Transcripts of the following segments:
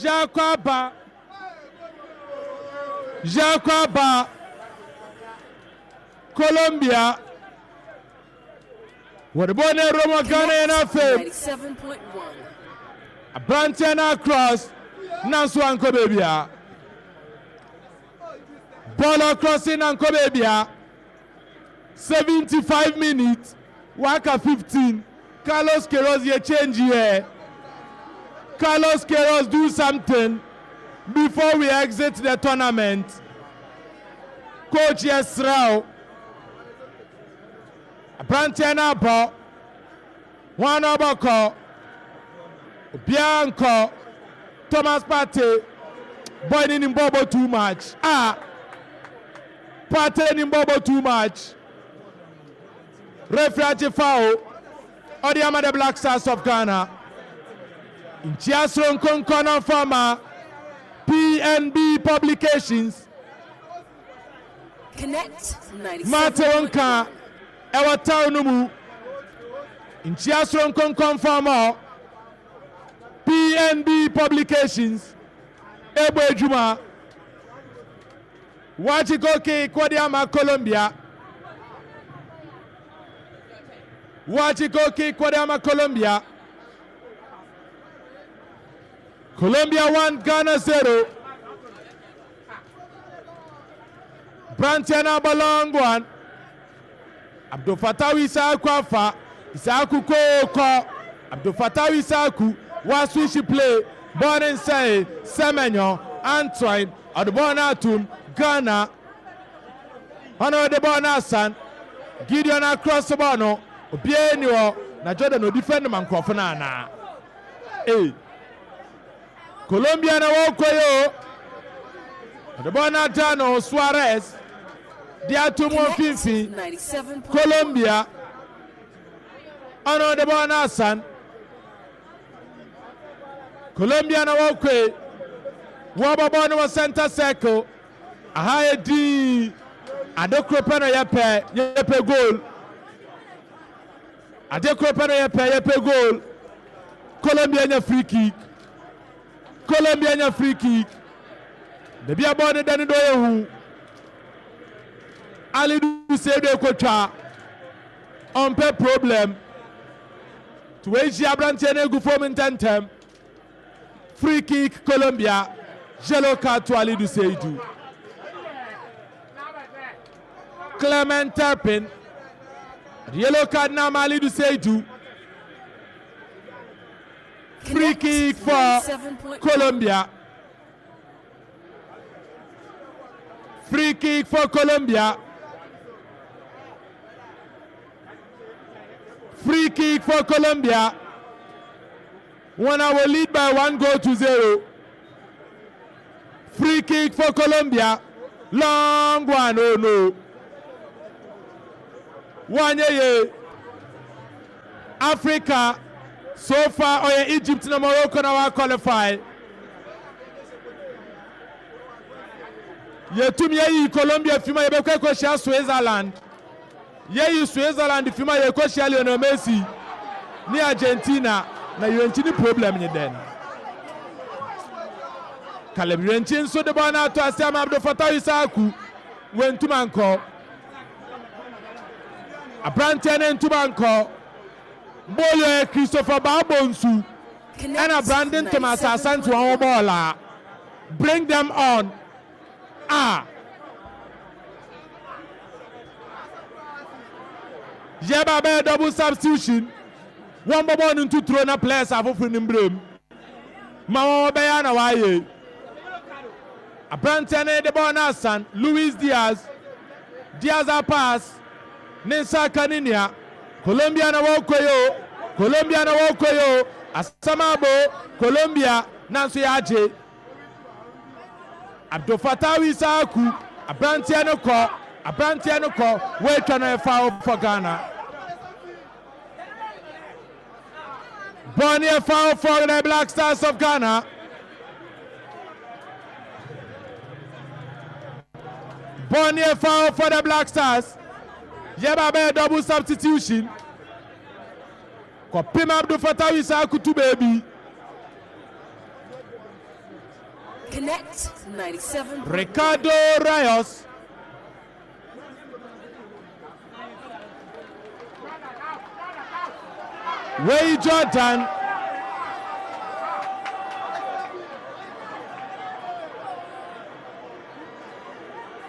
Yɛakɔ aba. Yɛakɔ aba. Colombia. Wɔde bɔɔl no awura mu wɔ Ghana yɛn afei. Aberanteɛ no across nanso ankɔ baabiara. Bɔɔl across na ankɔ baabiara. 75 minutes waka 15. Carlos Queiroz yɛ change yɛ. Carlos Queiroz do something before we exit the tournament. Coach yɛ srɛ o. Aberanteɛ no abɔ. Hwan na ɔbɛkɔ? Obiara nkɔ. Thomas Partey, boy no nim bɔɔlbɔ too much. Ah! Partey nim bɔɔlbɔ too much. Referee agye foul. Ɔde ama the Black Stars of Ghana. Nkyia soronko nkɔ no mfa ma PNB Publications. Mate wo nka ɛwɔ town no mu. Nkyia soronko nkɔmfamɔ. PNB Publications ɛbɔ adwuma. Wakye goal kick wɔde ama Colombia. Wakye goal kick wɔde ama Colombia. Colombia 1 Ghana 0. Branteɛ no abɔ long one. Abdul Fattah Issahaku afa. Issahaku koo kɔ. Abdul Fattah Issahaku wa switch play. Bɔɔl ne nsɛe. Semenyo Antoine ɔde bɔɔl no atum. Ghana ɔno ɔde bɔɔl no asan. Gideon across bɔɔl no. Obiara ni hɔ. Na Jordan odi fɛ no ma nkurɔfo no anaa. Ee. Colombia na wɔrekɔ yi o. Ɔde bɔɔl no ata no Suarez de ato mu mfimfini. Colombia ɔno ɔde bɔɔl no asan. Colombia na wɔrekɔ yi. Wɔbɔ bɔɔl no wɔ center circle. Aha yɛ dinn. Ade koro pɛ na yɛpɛ, yɛpɛ goal. Ade koro pɛ na yɛpɛ, yɛpɛ goal. Colombia nya free kick. Colombia nya free kick. Baabi a bɔɔl no da no dɔ yɛ hu. Alidu Seidu ekotwa. Ɔmpɛ problem. To wɔahyia aberanteɛ no egu fam ntɛntɛm. Free kick Colombia. Yellow card to Alidu Seidu. Clement Turpin. Yellow card now Alidu Seidu. Free kick for Colombia. Free kick for Colombia. Free kick for Colombia. When I will lead by 1 goal to 0. Free kick for Colombia. Long one, oh no. One year. Africa so far, oh yeah, Egypt and Morocco now qualify. Yɛtum yɛyi Colombia fima, yɛbɛkɔ akɔhyia Switzerland. Yɛyi Switzerland fima, yɛkɔhyia Lionel Messi ne Argentina. Na Yirenkyi ne problem nye dɛn? Caleb Yirenkyi nso de bɔɔl no ato ase ama Abdul Fatah Issahaku. Wɔntum ankɔ. Aberanteɛ no ntum ankɔ. Bɔɔl yɛ Christopher Baabo nsu ɛna Brandon Thomas Asante wɔn bɔɔl a bring them on a yɛba bɛyɛ double substitution. Wɔn bɔ bɔɔl no ntuturo na players afoforo no mbrem ma wɔn bɛyɛ na wɔayɛ. Aberanteɛ no de bɔɔl no asan Luis Diaz. Diaz a pass ne nsa aka ne nua. Colombia na wɔrekɔ yi o. Colombia na wɔrekɔ yi o. Asɛm abo Colombia nanso yɛagye. Abdul Fattah Issahaku, aberanteɛ no kɔ, aberanteɛ no kɔ, wɔatwa no, yɛ foul for Ghana. Bɔɔl no yɛ foul for the Black Stars of Ghana. Bɔɔl no yɛ foul for the Black Stars. Yɛba bɛyɛ double substitution. Kɔpem Abdul Fattah Issahaku to baabi. Connect 97. Ricardo Rayos. Wei Jordan.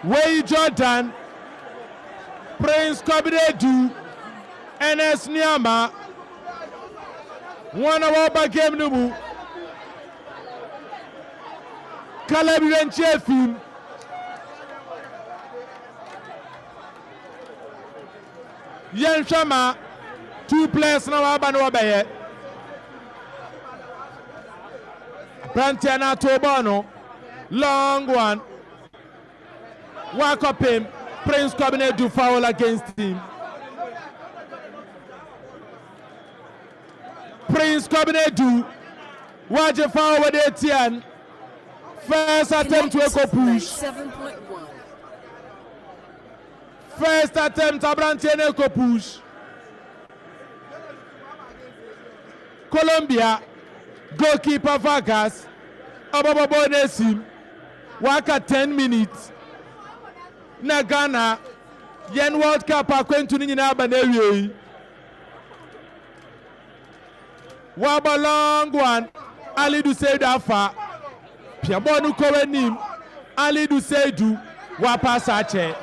Wei Jordan. Prince Kwabiredu. Ernest Nuamah. Wɔn a wɔreba game no mu. Caleb Yirenkyi efim. Yɛnhwɛ ma two players na wɔaba no wɔbɛyɛ. Aberanteɛ no ato bɔɔl no long one. Wakɔpem Prince Kwabena Adu foul against him. Prince Kwabena Adu wagye foul wɔde atia no. First attempt to echo push. First attempt aberanteɛ no echo push. Colombia goalkeeper Vargas ɔbɛbɔ bɔɔl no esim. Waka 10 minutes na Ghana yɛn World Cup akwantu no nyinaa aba n'awiei. Wabɔ long one, Alidu Seidu afa. Pia bɔɔl no kɔ anim, Alidu Seidu wapaasa akyɛ.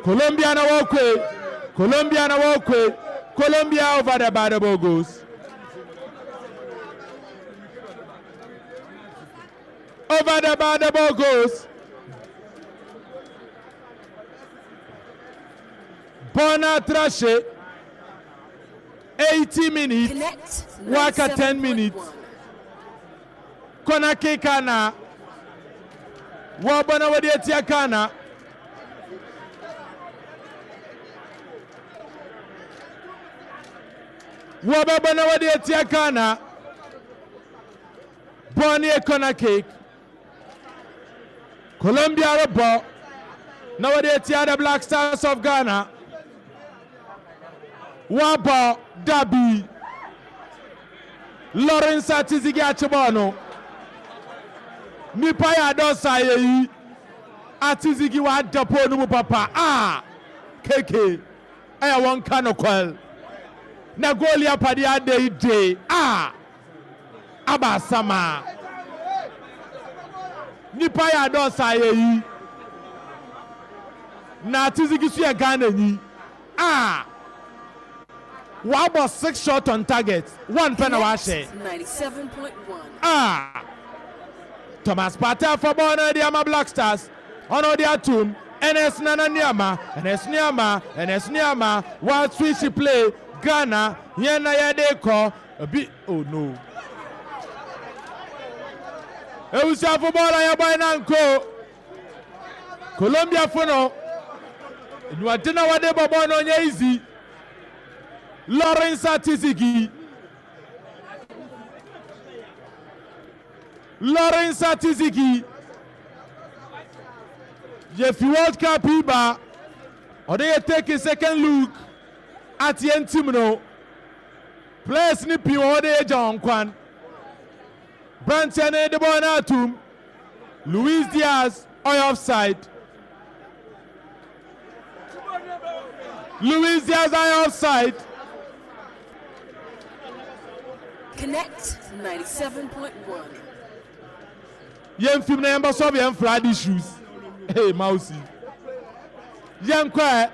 Colombia na wɔkɔe, Colombia na wɔkɔe, Colombia over the bar, the ball goes. Over the bar, the ball goes. Bona Trashe, 80 minutes, Waka 10 minutes. Kona Kekana, Wabana Wadiatia Kana. Wabana Wadiatia Kana. Bɔɔl no yɛ corner kick. Colombia rebɔ na wɔde atia the Black Stars of Ghana. Wɔabɔ dabi. Lawrence Atizigi akye bɔɔl no. Nipa yɛ adɔsa yɛ yi. Atizigi wada pole no mu papa. Ah! KK. Ɛyɛ wɔn ka no kwal. Na goal yi apadeɛ ada yi de. Ah! Aba asama. Nipa yɛ adɔɔso ayɛ yi. Na Atizigi so yɛ Ghana nyi. Ah! Wabɔ six shot on target, one pɛ na wahyɛ. Ah! Thomas Partey afa bɔɔl no de ama Black Stars. Ɔno ɔde atum. Ernest Nana Nuamah, Ernest Nuamah, Ernest Nuamah, wa switch play. Ghana, yɛn na yɛde kɔ. Ebi oh no. Ewusiafo bɔɔl a yɛbɔe na nko. Colombiafo no enyuɔden na wɔde bɔ bɔɔl no ɔnyɛ easy. Lawrence Atizigi. Lawrence Atizigi. Yɛfi World Cup yi ba. Ɔde yɛ take a second look at yɛn team no. Players no pii wɔ hɔ dɛ yɛgya wɔn kwan. Branteɛ no de bɔɔl no atom. Luis Diaz ɔyɛ offside. Luis Diaz ayɛ offside. Connect 97.1. Yɛn fim na yɛn bɛ solve yɛn flood issues. Hey, Mausi. Yɛn kɔ ɛ.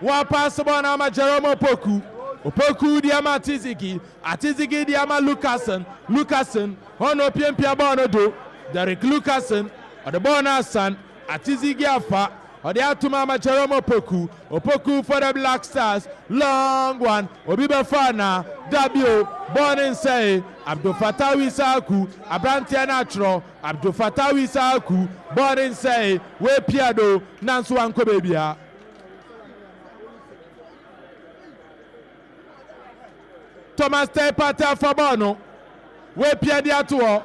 Wɔapaase bɔɔl no ama Jerome Opoku. Opoku de ama Atizigi. Atizigi de ama Luckassen. Luckassen, hɔ na opiapia bɔɔl no do. Derrick Luckassen, ɔde bɔɔl no asan. Atizigi afa. Ɔde atom ama Jerome Opoku. Opoku for the Black Stars. Long one. Obi bɛfa anaa? Dabi o. Bɔɔl no nsɛee. Abdul Fatawu Issahaku, aberanteɛ no atwerɛ. Abdul Fatawu Issahaku, bɔɔl no nsɛee. Woepia do, nanso wankɔ baabiara. Thomas Teye Partey afa bɔɔl no, wapia de ato hɔ.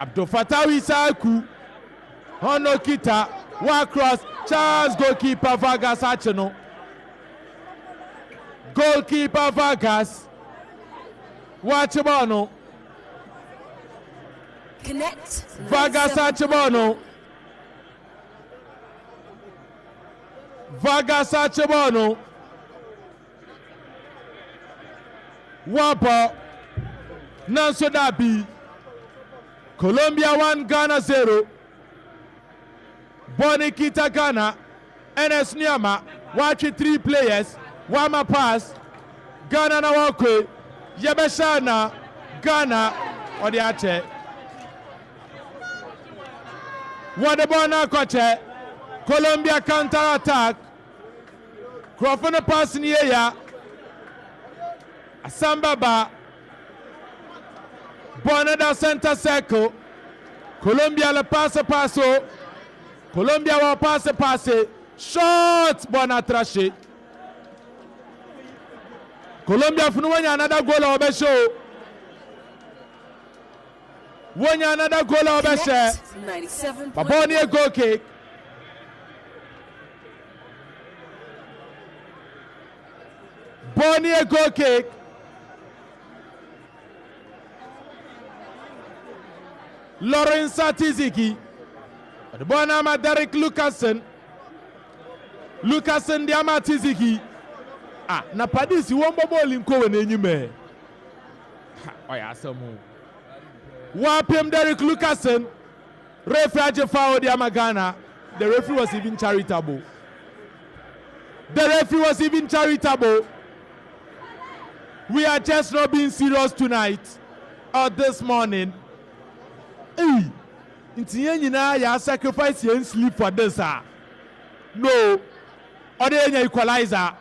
Abdul Fatawu Issahaku, ɔno kita, wa cross, Charles goalkeeper Vargas akye no. Goalkeeper Vargas wakye bɔɔl no. Connect. Vargas akye bɔɔl no. Vargas akye bɔɔl no. Wɔabɔ nanso dabi. Colombia 1 Ghana 0. Bɔɔl no kita Ghana. Ernest Nuamah watwe 3 players wama pass. Ghana na wɔkɔe. Yɛbɛhyɛ ana Ghana ɔde akyɛ. Wɔde bɔɔl no akɔkyɛ. Colombia counter attack. Nkurɔfo no pass no yɛ ya. Asɛm bɛba. Bɔɔl no da center circle. Colombia le paase paase o. Colombia wɔ paase paase. Shot bɔɔl no atra hye. Colombia funu wɔnya another goal a wɔbɛhyɛ o. Wɔnya another goal a wɔbɛhyɛ. But bɔɔl no yɛ goal kick. Bɔɔl no yɛ goal kick. Lawrence Atiziki. Ɔde bɔɔl no ama Derek Lucasen. Lucasen de ama Atiziki. Ah, na Padis wɔn bɔ bɔɔl nkɔ wɔn anim ɛ. Ha, ɔyɛ asɛm o. Wɔapem Derek Lucasen. Referee agye foul de ama Ghana. The referee was even charitable. The referee was even charitable. We are just not being serious tonight or this morning. Hey, nti yɛn nyinaa yɛ sacrifice yɛn sleep for this ah. No, ɔde yɛn nya equalizer.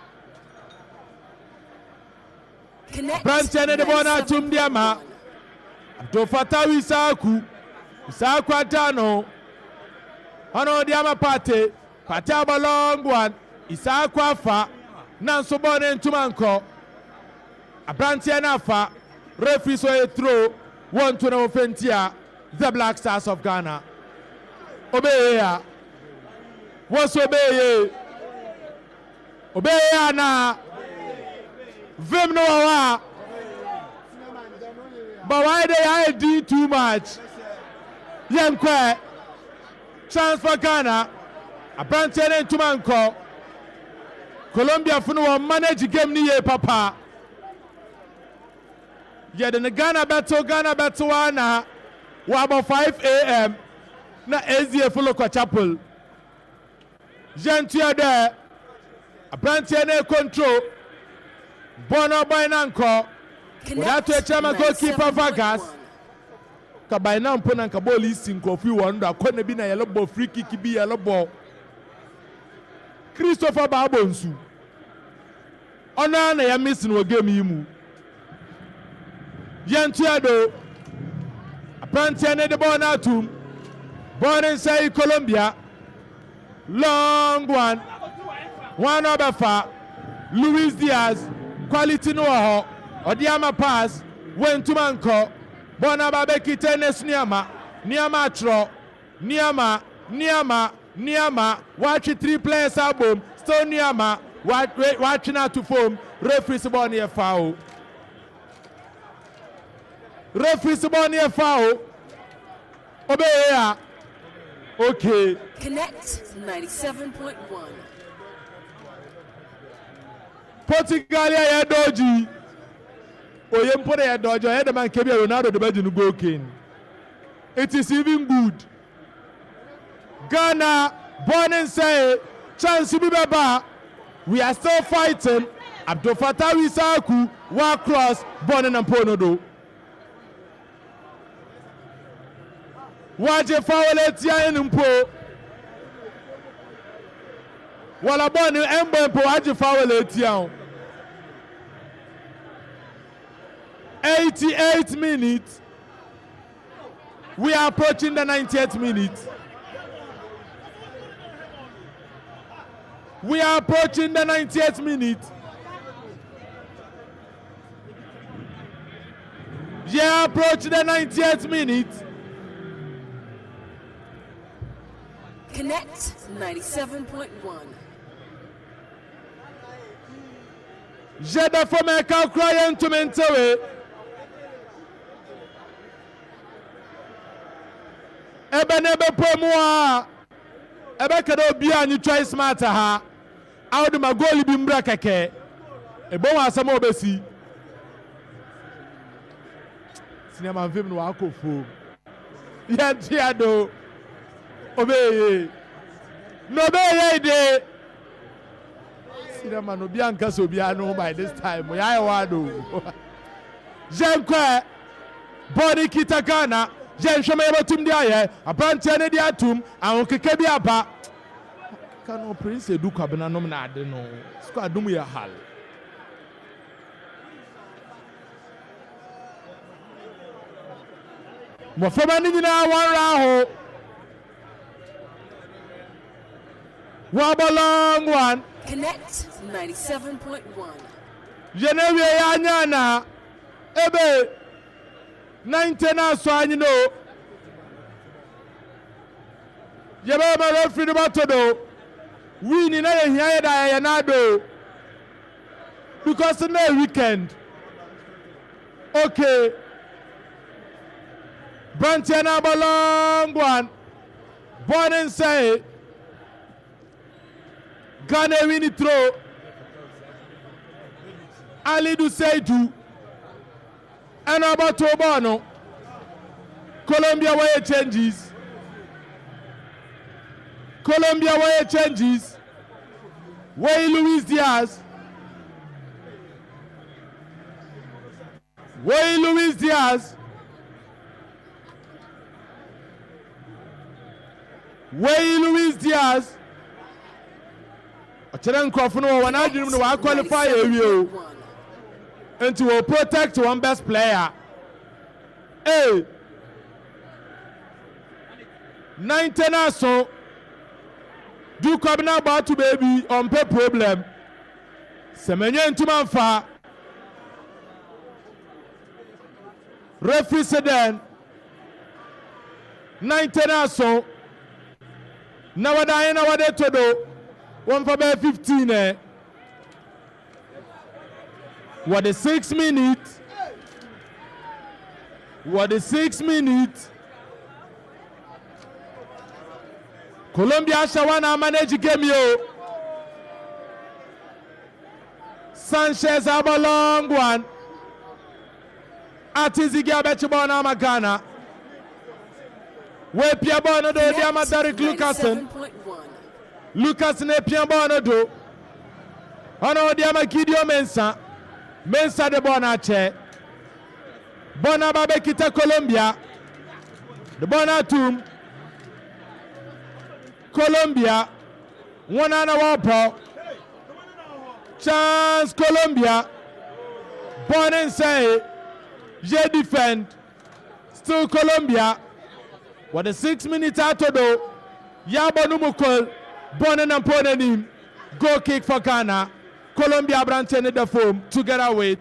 Aberanteɛ no de bɔɔl no atom de ama Abdul Fatawu Issahaku. Issahaku ada no. Ɔno de ama Partey. Partey abɔ long one. Issahaku afa. Nanso bɔɔl no ntoma nkɔ. Aberanteɛ no afa. Referee so ɛyɛ throw. Wɔnto na wɔfɛ ntia The Black Stars of Ghana. Obeye a. Wɔso obeye. Obeye anaa? Vim no wɔ hɔ a. But why they are doing too much? Yɛnkɔ ɛ. Chance for Ghana. Aberanteɛ no ntoma nkɔ. Colombia fo no wɔn manage game no yie papa. Yɛde no Ghana bɛto Ghana bɛto a na wɔabɔ 5 am na SDA fo lokɔ chapel. Yɛntua dɛ aberanteɛ no control bɔɔl no ɔbɔe na nkɔ. Wɔde ato akyire ama goalkeeper Vargas. Ka by now mpo na nka bɔɔl yi si nkurɔfo yi wɔn do akɔ bi na yɛlebɔ free kick bi yɛlebɔ. Christopher Baabo nsu. Ɔno ara na yɛ miss no wɔ game yi mu. Yɛntua do. Aberanteɛ no de bɔɔl no atum. Bɔɔl no nsa yi Colombia. Long one. Wɔn na ɔbɛfa. Luis Diaz. Quality no wɔ hɔ. Ɔde ama pass. Wɔntuma nkɔ. Bɔɔl no aba abɛkita Ernest Nuamah. Nuamah atwerɛ. Nuamah, Nuamah, Nuamah. Watwe three players abom. Still Nuamah. Watwe no ato fam. Referee sɛ bɔɔl no yɛ foul. Referee sɛ bɔɔl no yɛ foul. Obeye a. Okay. Connect 97.1. Portugal yɛ yɛ dɔɔgyi. Oye mpo de yɛ dɔɔgyi. Ɔyɛ dɛm anka bi a Ronaldo de bɛgye no goal king. It is even good. Ghana bɔɔl ne nsɛe chance bi bɛba. We are still fighting. Abdul Fattah Issahaku wa cross bɔɔl ne nam pole no do. Wagye foul etia yɛn mpo. Wala bɔɔl no ɛmbɔ mpo wagye foul etia o. 88 minutes. We are approaching the 90th minute. We are approaching the 90th minute. Yeah, approach the 90th minute. Connect 97.1. Yɛda fam ɛka kura yɛn ntumi ntewe. Ɛbɛ na ɛbɛpɔ mu a ɛbɛka dɛ obiara nye choice smart ha. Awode ma goal bi mbra kɛkɛ. Ebohu asɛm a obesi. Sinema mfim no wakɔ fom. Yɛntua do. Obeye. Na obeye de. Sinema no obi anka sɛ obiara no by this time. Yɛayɛ wado. Yɛnkɔ bɔɔl no kita Ghana. Yɛnhwɛ ma yɛbɛtum de ayɛ. Aberanteɛ no de atum. Ahokeka bi aba. Ka no Prince Edu Kwabena nom na ade no. Squad no mu yɛ hal. Mmɔframma no nyinaa wɔn werɛ aho. Wɔabɔ long one. Connect 97.1. Yɛn awie yɛ anya ana ebe 90 na asɔ anyi no. Yɛbɛyɛ ma referee no bɛto do. Win na yɛhia yɛ da yɛyɛ n'ado. Because na weekend. Okay. Branteɛ no abɔ long one. Bɔɔl ne nsɛe. Ghana win throw. Alidu Seidu ɛna ɔbɔto bɔɔl no. Colombia wɔyɛ changes. Colombia wɔyɛ changes. Wɔyi Luis Diaz. Wɔyi Luis Diaz. Wɔyi Luis Diaz. Ɔkyerɛ nkurɔfo no wɔ wɔn adwene mu no wɔa qualify awie o. Nti wɔ protect wɔn best player. Ee. 90 na so. Dukɔb na abɔ ato baabi ɔmpɛ problem. Sɛ manyɛ ntoma mfa. Referee sɛ dɛn? 90 na so. Na wɔde ayɛ na wɔde to do. Wɔmfa bɛyɛ 15 ɛ. Wɔde 6 minutes. Wɔde 6 minutes. Colombia ahyɛ wɔn a manage game yi o. Sanchez abɔ long one. Atizigi abɛkye bɔɔl no ama Ghana. Wɔapia bɔɔl no do de ama Derek Lucasen. Lucasen apia bɔɔl no do. Ɔna ɔde ama Gideon Mensah. Mensah de bɔɔl no akyɛ. Bɔɔl no aba abɛkita Colombia. De bɔɔl no atum. Colombia wɔn a na wɔrebɔ. Chance Colombia. Bɔɔl no nsɛe. Yɛ defend. Still Colombia. Wɔde 6 minutes ato do. Yɛabɔ no mu kol. Bɔɔl no nam pɔn n'anim. Goal kick for Ghana. Colombia aberanteɛ no da fam together with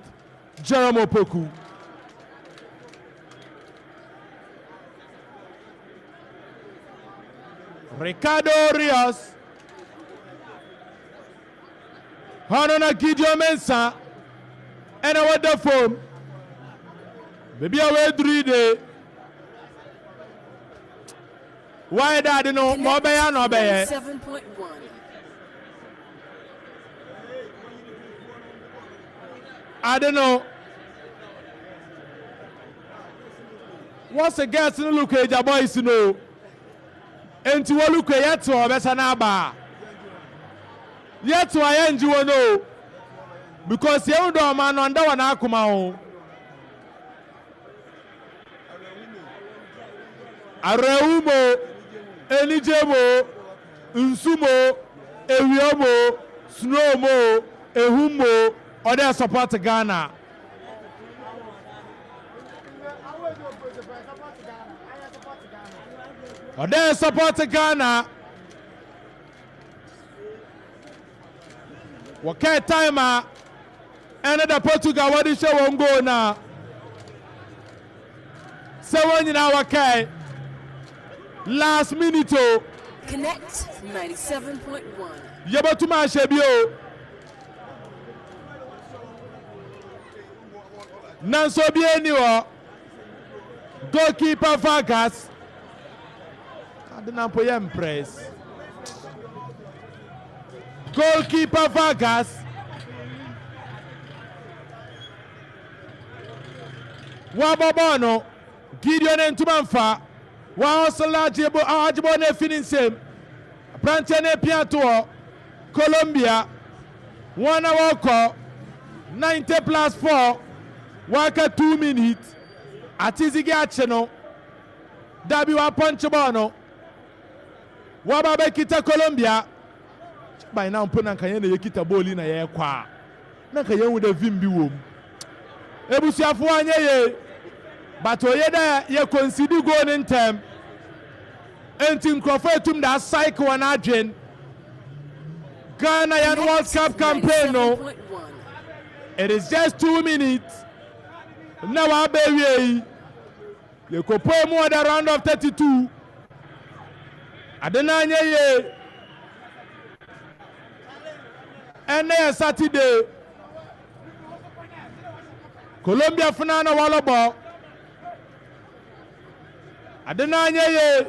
Jerome Opoku. Ricardo Rios. Hɔno na Gideon Mensah ɛna wɔda fam. Beebi a wɔaduru yi de, wɔayɛ dɛ ade no ma ɔbɛyɛ ana ɔbɛyɛ. 97.1. Ade no wɔsɛ girls no look agya boys no nti wɔ look yɛte hɔ ɔbɛsa no aba yɛte hɔ a yɛngye wɔ no because yɛn dɔ ɔma no ɔnda wɔ n'akoma ho. Awerɛho mo, anigye mo, nsu mo, ewia mo, snow mo, ehum mo, ɔdɛ support Ghana. Ɔdɛ support Ghana. Wɔkɛɛ time a ɛne da Portugal wɔde hyɛ wɔn goal na sɛ wɔn nyinaa wɔkɛɛ last minute o. Connect 97.1. Yɛbɛtum ahyɛ bi o. Nanso obi ani hɔ. Goalkeeper Vargas. Ade na mpo yɛ mpress. Goalkeeper Vargas. Wabɔ bɔɔl no. Gideon ntoma mfa. Wahɔsela agye bɔɔl no afi ne nsam. Aberanteɛ no apia to hɔ. Colombia. Wɔn a wɔkɔ 90 plus 4. Waka 2 minutes. Atizigi akye no. Dabi wapɔnkye bɔɔl no. Waba bɛkita Colombia. By now mpo na nka yɛn na yɛkita bɔɔl yi na yɛrekɔ a. Na nka yɛn hu dɛ vim bi wɔ mu. Ebusuafo anyɛ yie. But oye dɛ yɛ concede goal ne ntɛm. Enti nkurɔfo etum da psyche wɔn adwen. Ghana yɛn World Cup campaign no. It is just 2 minutes. Na waba ewie yi. Yɛkɔpɔe mu wɔ the round of 32. Ade no anyɛ yie. Ɛnɛ yɛ Saturday. Colombia funa na wɔlɔbɔ. Ade no anyɛ yie.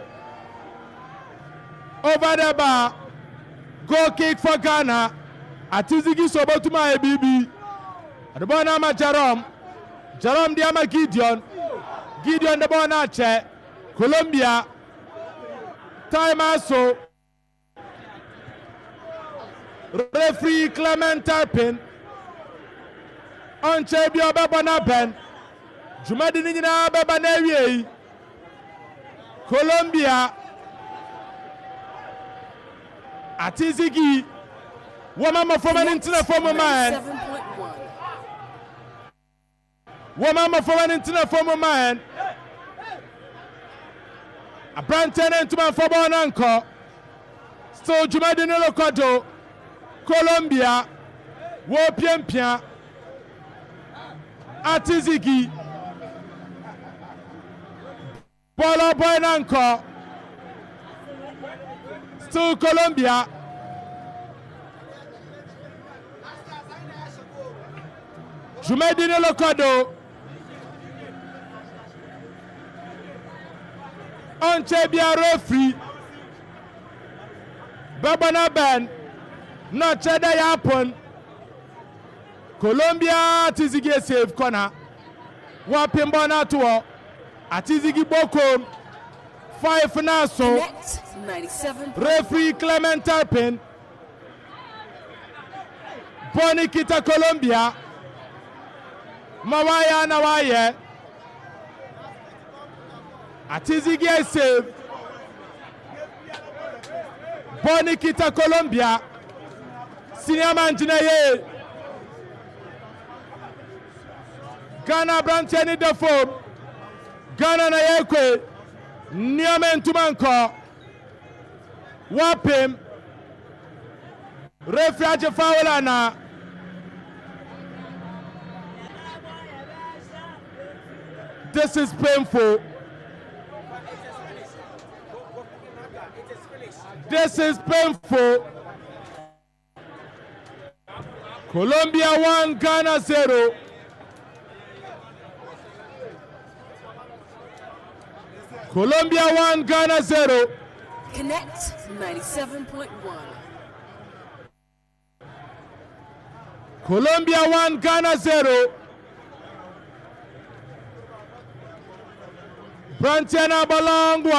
Over the bar. Goal kick for Ghana. Atizigi so obotuma ayɛ biribi. Ɔde bɔɔl no ama Jerome. Jerome de ama Gideon. Gideon de bɔɔl no akyɛ. Colombia. Time aso. Referee Clement Turpin. Ɔnkyɛn bi ɔbɛbɔ n'abɛn. Dwumadi no nyinaa bɛba n'awie yi. Colombia. Atizigi. Wɔma mmɔframma no ntena fam ma yɛn. 97.1. Wɔma mmɔframma no ntena fam ma yɛn. Aberanteɛ no ntoma mfa bɔɔl no nkɔ. Still dwumadi no rekɔ do. Colombia wɔrepiapia. Atizigi. Bɔɔl ɔbɔe no nkɔ. Still Colombia. Dwumadi no rekɔ do. Ɔnkyɛ biara efiri. Bɛbɔ n'abɛn na ɔkyerɛ dɛ yɛ apon. Colombia Atizigi save corner. Wɔapem bɔɔl no ato hɔ. Atizigi bɔ kom. 5 na so. Connect 97. Referee Clement Turpin. Bɔɔl no kita Colombia. Ma wayɛ na wayɛ. Atizigi save. Bɔɔl no kita Colombia. Senior man gyina yie. Ghana aberanteɛ ne da fam. Ghana na yɛrekɔ. Nneɛma ntoma nkɔ. Wapem. Referee agye foul ana. This is painful. This is painful. Colombia 1, Ghana 0. Colombia 1, Ghana 0. Connect 97.1. Colombia 1, Ghana 0. Brantiana long one.